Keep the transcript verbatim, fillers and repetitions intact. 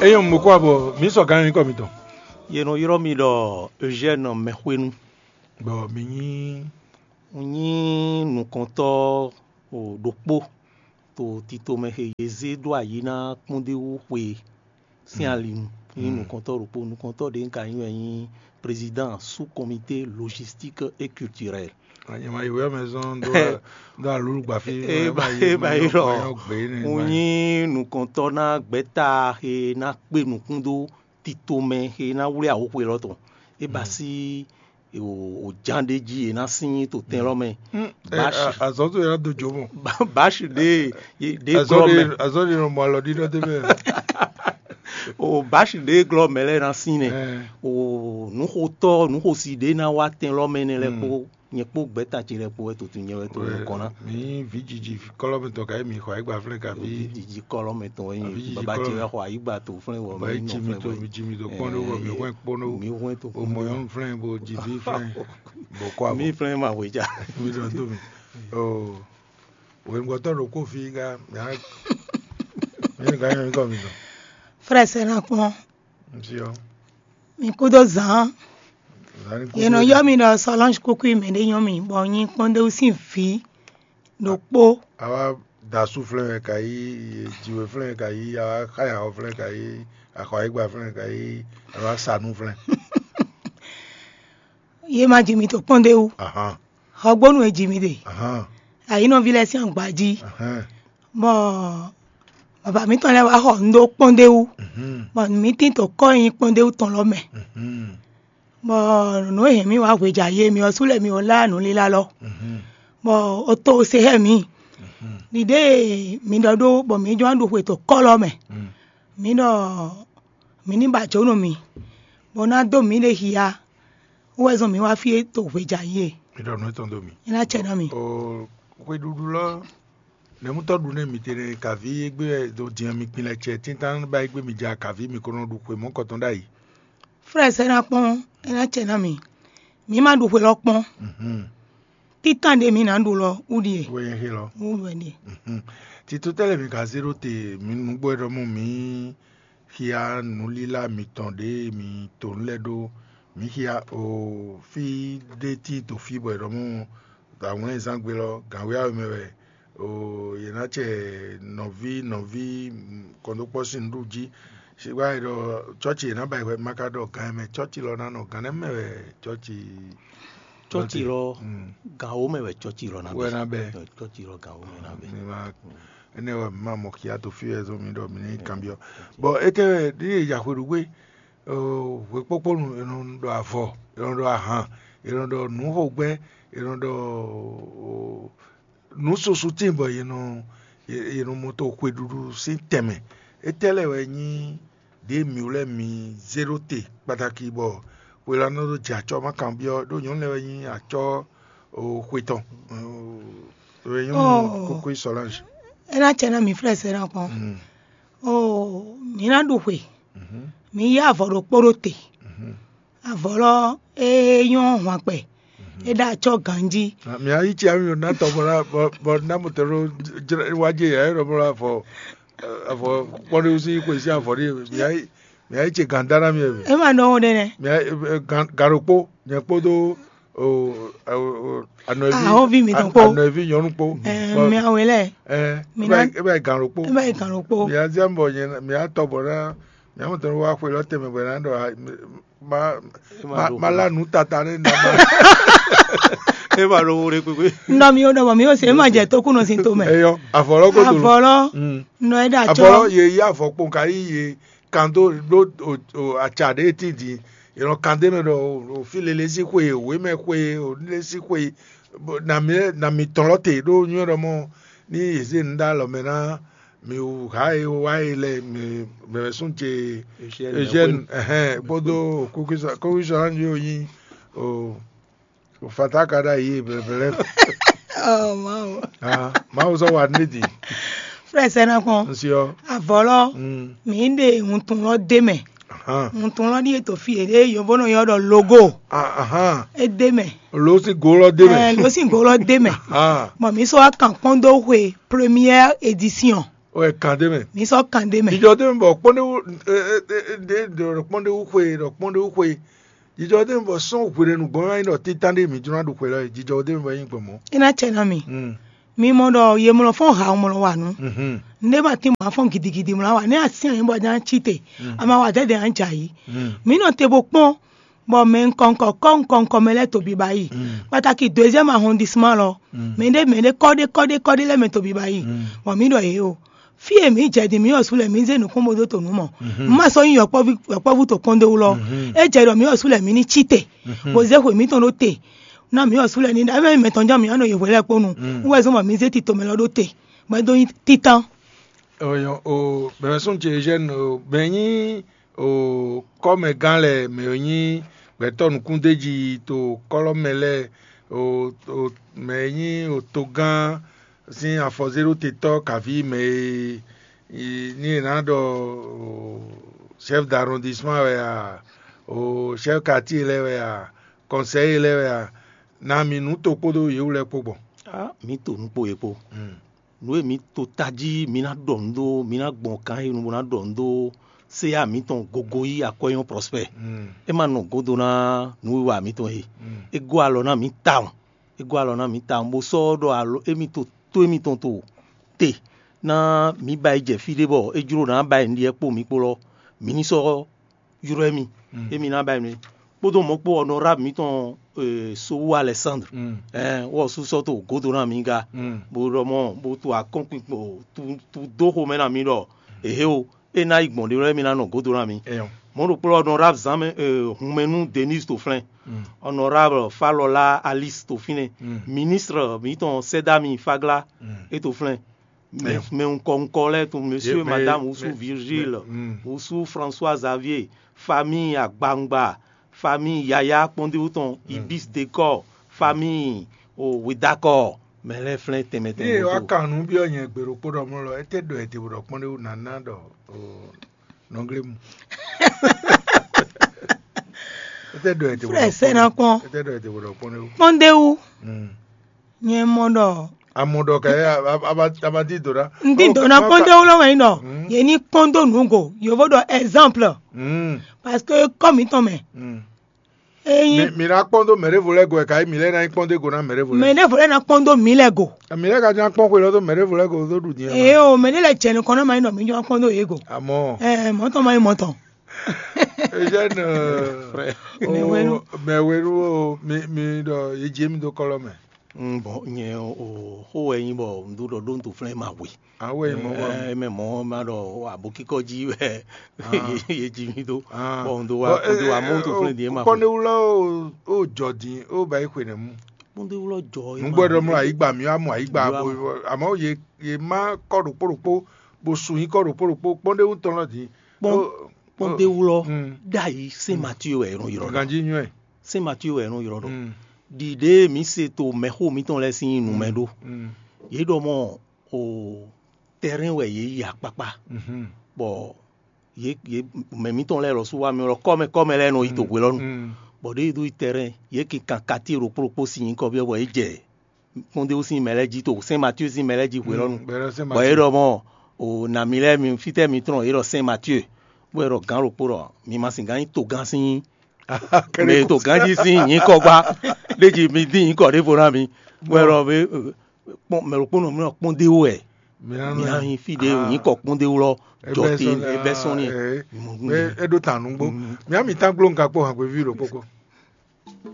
Ényí un mɔ kó abɔ mǐ sɔ gǎn nyǐkɔ mitɔn. Yě nɔ ylɔ́ mì ɖɔ Eugène Mɛxwénu. Bɔ mi nyí Un nyí nukɔntɔ́ ɖokpó to titomɛ he yě zé ɖó ayǐ ná kpɔ́ndéwú xwe sín ali nu. Nyí nukɔntɔ́ ɖokpó. Nukɔntɔ́ ɖě un ka nyí wɛ nyí président sous comité logistique et culturel. Nyama yi wɛ mɛ zɔn dó dó alulu gba fí. E ba e ba yi lɔ. Un nyí nukɔntɔ́ ná gbɛ́ta he ná kpé nukún dó titomɛ he ná wlí ahoxwe lɔ tɔn. E ba sí o ján ɖé jí e ná sín to tɛn lɔ mɛ. Báshi. Azɔ̌ tó yɛ do jó mɔ. Báshi ɖé ɖé glɔ mɛ. Azɔ́ ɖe nɔ mɔ alɔ ɖiɖɔ dé mɛ. O báshi ɖé glɔ mɛ lɛ ná sín nɛ. O nǔxotɔ́ nǔxosi ɖé ná wá tɛn lɔ mɛ nɛ lɛ kpó nyɛ kpó gbɛ́ta ce lɛ kpó wɛ to tun nyɛ wɛ to nukɔn ná. Mi vǐ jiji kɔlɔ mɛ tɔn ka mi xɔ ayigba flɛn ka vi. Vǐ jiji kɔlɔ mɛ tɔn wɛ baba ce wɛ xɔ ayigba to flɛn wɔ mi nɔ flɛn wɛ. Jimi to kpɔn ɖó wɔ mi hwɛn kpɔn ɖó. Mi hwɛn to kpɔn ɖó. O mɔ yɔn flɛn bo jivi flɛn. Bo kɔ abo. Mi flɛn ma hwe ja. Mi ɖɔ to mi. O wɛngbɔtɔ ɖo kó fi ga mi a mi ga nyɔ mi kɔ mi dɔn. Frère Sénat kpɔn. Ŋutɔ. Mi kúdó zǎn. Yě nɔ ylɔ́ mì ɖɔ Solange Kúkú mɛ ɖé nyɔ́ mì bɔ nyí kpɔ́ndéwú sín vǐ ɖokpó. Awa dasu flɛn wɛ ka yí, jiwe flɛn wɛ ka yí, awa xaya xɔ flɛn wɛ ka yí, axɔ ayigba flɛn wɛ ka yí, awa sanu flɛn. Yě ma ji mi to kpɔ́ndéwú. Ahan. Xɔgbónu e ji mi ɖe. Ahan. Ayǐnɔví lɛ́ɛ sín agbají. Ahan. Bɔ baba mǐtɔn lɛ́ɛ wá xɔ nǔ ɖó kpɔ́ndéwú. Mhm. Bɔ mǐ tín to kɔ́ e nyí kpɔ́ndéwú tɔn lɔ mɛ. Mhm. Bɔ nǔ e hɛn mì wá hweja yé mi ɔ́ sú lɛ́ mi ɔ́ lá nǔlílá lɔ. Mhm. Bɔ o to se xɛ mǐ. Mhm. Ɖiɖe e mi ɖɔ ɖó bɔ mǐ jɔ́n ɖu xwe to kɔ́ lɔ mɛ. Mhm. Mǐ ɖɔ mǐ ní ba jǒ nú mì, bɔ ná dó mǐɖée xia. Wɛ zɔn mǐ wá fí e to hweja yí e. Mi ɖɔ nǔ etɔn dó mì. É ná cɛ ná mì. O xweɖuɖu lɔ nɛmútɔ́ ɖu nɛ mi tɛnɛ kaví égbé wɛ do din mi kpin lɛ cɛ tíntan ba égbé mi ja kaví mi ko nɔ ɖu xwe mɔ̌kɔtɔn ɖ'ayǐ. Frɛ sɛ́ ná kpɔ́n, é ná cɛ ná mì. Mǐ ma ɖu xwe lɔ kpɔ́n. Mhm. Títàn ɖe mǐ ná ɖu lɔ wú ɖie. Wɛ nyɛ xé lɔ. Wú wɛ ɖie. Mhm. Tito tɛ́ lɛ́ mi ka zé ɖó te mi nǔgbó wɛ ɖɔ mɔ mǐ xia nǔlílá mitɔn ɖě mi to nǔ lɛ́ɛ ɖó. Mǐ xia o fí ɖé tíin to fí bɔ è ɖɔ mɔ dǎwlɛ́nzán gbe lɔ gǎnwéyáwé mɛ wɛ o yě ná cɛ nɔví nɔví kɔndókpɔ́ sín nǔɖuɖu jí. Sigba e ɖɔ cɔ́ci yě ná ba yi hwɛ ma ka ɖɔ gǎn mɛ cɔ́ci lɔ ná nɔ gǎn nɛ́ mɛ wɛ cɔ́ci. Cɔ́ci lɔ gǎnwó mɛ wɛ cɔ́ci lɔ ná wɛ bɛ. Ná bɛ. Cɔ́ci lɔ gǎnwó mɛ ná bɛ. Mi ma énɛ́ wɛ mi ma mɔ xia to fí wɛ zɔn mi ɖɔ mi ní kanbyɔ́. Bɔn étɛ́ wɛ ɖíe ya xwe ɖu gbé hwekpókpónu è nɔ ɖɔ avɔ, è nɔ ɖɔ ahan, è nɔ ɖɔ nǔxogbɛ́, è nɔ ɖɔ nǔ susu tíin bɔ yě nɔ yě nɔ mɔ to xweɖuɖu sín tɛnmɛ. Étɛ́ lɛ́ɛ wɛ nyí ɖě mǐ lɛ́ɛ mǐ zé ɖó te kpataki bɔ hwelánɔ ɖó jɛ acɔ́ ma kanbyɔ́ ɖó nyɔ̌nu lɛ́ɛ wɛ nyí acɔ́ xwe tɔn. Wɛ nyɔ́nu kókó Solange. É ná cɛ ná mǐ flɛ́ sɛ́ ná kpɔ́n. Oo, mǐ ná ɖu xwe. Mǐ yí avɔ ɖokpó ɖó te. Avɔ lɔ é nyɔ́ hwankpɛ. É ɖo acɔ́ ganjí. Mi ayi tsi ami ná tɔ bɔ ná bɔ ná mo tɛ ɖo wájé yɛ ɛ ɖɔ bɔ avɔ avɔ kpɔɖé wusi xwe sí avɔ ɖé mi ayi mi ayi tsi gan dá ná mi ɛ. É ma ɖɔ wo ɖe nɛ. Mi ayi gan ɖokpó nyɛ kpódó anɔvi mi tɔn kpó anɔvi nyɔnu kpó. Miawe lɛ. Ɛ mi ná ebe gan ɖokpó. Ebe gan ɖokpó. Mi azi bɔ nyɛ mi atɔ bɔ ná mi amɔ tɔn wá xwe lɔ tɛmɛ bɔ ná ɖɔ ma ma ma la nu tata ne na ma. E ma ɖo wo ɖe kpekpe. Ŋdɔ mi wo ɖɔ bɔ mi wo se ma jɛ tokunɔ sin to mɛ. Eyɔ avɔlɔ ko dolo. Avɔlɔ nɔ e ɖe atsɔ. Avɔlɔ ye yi avɔ kpɔn ka yi ye kan do ɖo atsa ɖe ti di. Yɛlɔ kan de mɛ ɖɔ o fi lele si xwe o we mɛ xwe o le si xwe na mi na mi tɔn lɔ te ɖo nyuɛ ɖɔ mɔ ni yeze nu ɖe alɔ mɛ na mi wu ha e wá e lɛ mi mɛ sún ce Eugène ɛhɛn kpódó kókísɔ kókísɔ hàn yóò nyi o o fata ka ɖe ayi bɛbɛlɛ. Oh, Mawu. Ah, Mawu sɔ wa ne di. Frère sɛnɛ kɔn. Nsiɔ. Avɔlɔ. Mm. Mi de ŋutun lɔ de mɛ. Ahan. Ŋutun lɔ di eto fi ede yovo nɔ yɔ dɔ logo. Ah, ahan. E de mɛ. Lo si go lɔ de mɛ. Eh, lo si go lɔ de mɛ. Ah. Bon, mi sɔ wa kan kpɔn do hwe première édition. O wɛ kan ɖé mɛ. Mi sɔ́ kan ɖé mɛ. Jijɔ ɖé mɛ bɔ kpɔ́ndéwú ɖe ɖɔ kpɔ́ndéwú xwe ɖɔ kpɔ́ndéwú xwe. Jijɔ ɖé mɛ bɔ sɔ́n hwelenu gbɔn wá nyí ɖɔ títán ɖé mǐ jló ná ɖu xwe lɔ é. Jijɔ ɖé mɛ bɔ é nyí gbɔn mɔ̌. É ná cɛ ná mi. Mm. Mi mɔ ɖɔ ye mlɔ fɔ́n ha mlɔ wa nǔ. Mhm. Nɖé ma tín bɔ a fɔ́n gidigidi mlɔ wa nɛ́ a syɛ́n nyɛ bɔ a ján cí te. Mm. A ma wa dɛ́dɛ a jɛ ayǐ. Mm. Mǐ nɔ te bo kpɔ́n bɔ mɛ nukɔn nukɔn kɔ́ nukɔn nukɔn mɛ lɛ́ɛ to biba yi. Mm. Kpataki deuxième arrondissement lɔ. Mm. Mɛ ɖé mɛ ɖé kɔ́ ɖé kɔ́ ɖé kɔ́ ɖé lɛ́ɛ mɛ to biba yi. Mm. Bɔ mǐ ɖɔ yě o. Fí e mǐ jɛ din mǐ ɔ́ su lɛ mǐ zé nǔkún bó dó to nǔ mɔ. Mhm. Má sɔ́ nyí yɔkpɔ́ví yɔkpɔ́vú to kɔ́ndéwú lɔ. Mhm. É jɛ ɖɔ mǐ ɔ́ su lɛ mǐ ní cí te. Mhm. Bó zé xwe mǐtɔn ɖó te. Ná mǐ ɔ́ su lɛ ní ɖɔ é mɛ tɔn ján mǐ ɔ́ nɔ yi hwe lɛ́ɛ kpó nu. Mm. Wú wɛ zɔ́n bɔ mǐ zé tito mɛ lɔ ɖó te. Bɔ é dó nyí títán. Ɔyɔ o bɛmɛsɔn ce Eugène o bɛ nyí o kɔ́mɛgán lɛ mɛ e nyí gbɛtɔ́ nukúndéji to kɔ́lɔ́mɛ lɛ́ɛ o o mɛ e nyí o togán sín afɔzéɖótetɔ́ kaví mɛ e ní è nǎ ɖɔ o chef d'arrondissement wɛ a o chef quartier lɛ́ɛ wɛ a conseiller lɛ́ɛ wɛ a na mi nǔ to kpódó yě wú lɛ́ɛ kpó gbɔn. Á, mǐ to nǔ kpo yě kpó. Mm. Nǔ e mǐ to tají mǐ ná ɖɔ nǔ ɖó, mǐ ná gbɔn kan e nu bó ná ɖɔ nǔ ɖó séya mǐtɔn gogo yí akwɛ́nyɔ́ Prosper. Mm. É ma nɔ godo ná nǔwiwa mǐtɔn e. Mm. É gɔ́ alɔ ná mǐ tawun. É gɔ́ alɔ ná mǐ tawun bó sɔ́ ɖɔ alɔ émítɔn tó émítɔn to te ná mǐ ba yi jɛ fí ɖé bɔ é jló ná ba yi nǔɖiɖi kpó mǐ kpó lɔ, mǐ ní sɔ́ ylɔ́ mì, émi ná ba yi nú kpódó mɔ̌ kpó honorable mǐtɔn Sowu Alexandre, wɔ sú sɔ́ to gǒdo ná mǐ ga, bó ɖɔ mɔ bó to akɔ́nkpinkpo tu dó xomɛ ná mǐ ɖɔ ehe o, é ná yi gbɔn ɖé wɛ mì ná nɔ gǒdo ná mǐ. Mɔ̌ ɖokpó honorable Zan Hunmɛnu Denise to flɛn, honorable Falɔla Alice to fínɛ́, ministre mǐtɔn Sɛdami Fagla é to flɛn. Mɛ nukɔn nukɔn lɛ́ɛ tɔn, monsieur, madame, wusu Virgile, wusu François Xavier, famille Agbangba, famille Yaya kpɔ́ndéwú tɔn, Ibis Décor, famille o Wedakɔ, mɛ lɛ́ɛ flɛ́n tɛnmɛ tɛnmɛ. Yé wá kan nǔ byɔ́ nyɛ gbe ɖokpó ɖɔ mɔ lɔ, étɛ́ ɖɔ ɛ te bɔ ɖɔ kpɔ́ndéwú nǎ ná ɖɔ nɔglému. Étɛ́ ɖɔ ɛ te bɔ Frère, sɛ ná kpɔ́n. Étɛ́ ɖɔ ɛ te bɔ ɖɔ kpɔ́ndéwú. Kpɔ́ndéwú. Nyɛ mɔ ɖɔ Amɔ ɖɔ kɛ a- a- a- a- a ma di do ɖa. N di do na kpɔ́n dó wlɔ́ wɛ nyí ɖɔ yě ní kpɔ́n dó nǔ go, yǒvo ɖɔ exemple, Mm, parce que kɔ mǐtɔn mɛ mm. Eyi Mi- mi ná kpɔ́n dó mɛɖěvo lɛ́ɛ go wɛ kayi mi lɛ́ ná nyí kpɔ́n dó go ná mɛɖěvo mɛ lɛ́ɛ. Ɖěvo lɛ́ɛ ná kpɔ́n dó mǐ lɛ́ɛ go. Mi lɛ́ ka ján kpɔ́n xwe lɔ dó mɛɖěvo lɛ́ɛ go dó ɖu din. Eye o, mɛ ɖé lɛ jɛ nukɔn ná ma nyí ɖɔ mǐ jɔ kpɔ́n dó yě go. Amɔ Ɛ mɔ̌tɔn ma nyí mɔ̌tɔn. Eugène Frère. Mɛ wenu. Mɛ wenu o mi mi ɖɔ yé jɛ mi dó kɔlɔ mɛ. Mm, bon, nyɛ o xó wɛ nyí bɔ un ɖó ɖɔ ɖó un to flɛ́n ma hwe. Awe mɔ wɛ. Ɛ mɛ mɔ ma ɖɔ abokikɔ jí wɛ ye jí mi dó. Bon, un do wa un do wa mɔ un to flɛ́n di ma hwe. Kpɔndéwulɔ o jɔ din o ba yi xwe nɛ mu. Kpɔndéwulɔ jɔ. Nugbo ɖɔ mlɔ ayigba mi wa mɔ ayigba. Amɔ ye ye ma kɔ ɖokpó ɖokpó bo su nyi kɔ ɖokpó ɖokpó kpɔndéwu tɔn lɔ din. Kpɔndéwulɔ ɖ'ayǐ Saint Mathieu wɛ è nɔ ylɔ́ ɖɔ. Ganjí nyɔ́ɛ. Saint Mathieu wɛ è nɔ ylɔ́ ɖɔ. Ɖiɖe e mǐ se to mɛxó mǐtɔn lɛ́ɛ sín nu mɛ ɖó. Yě ɖɔ mɔ o tɛrɛn wɛ yě yi akpakpa, bɔ yě yě mɛ mǐtɔn lɛ́ɛ lɔ sú wá mì lɔ kɔ́mɛ kɔ́mɛ lɛ́ɛ nɔ yi to hwe lɔ nu, bɔ ɖěe ɖó yi tɛrɛn yě kinkan katíe ɖokpó ɖokpó sín nyǐkɔ byɔ́ bɔ yě jɛ kpɔ́ndéwú sín mɛ lɛ́ɛ jí to Saint Mathieu sín mɛ lɛ́ɛ jí hwe lɔ nu, bɔ yě ɖɔ mɔ o nǎ mi lɛ́ɛ mi fítɛ́ mi tlɔ́n yě ɖɔ Saint Mathieu, bó yɛ ɖɔ gǎn ɖokpó ɖɔ mi ma sɛn gǎn nyí togán sín mɛ e to ganjí sín nyǐkɔ gbá ɖé jí mi dín nyǐkɔ ɖěvo ná mi, bɔ ɛ lɔ bé kpɔn mɛ ɖokpónɔ mi nɔ kpɔ́n dé wú wɛ mi ná nyi fí ɖé nyǐkɔ kpɔ́n dé wú lɔ jɔ te é bɛ́ sɔ́n n'i. É ɖó tàn nǔgbó. Mǐ á mi tán gbló un ka kpó hǎngbéví ɖokpó kpó.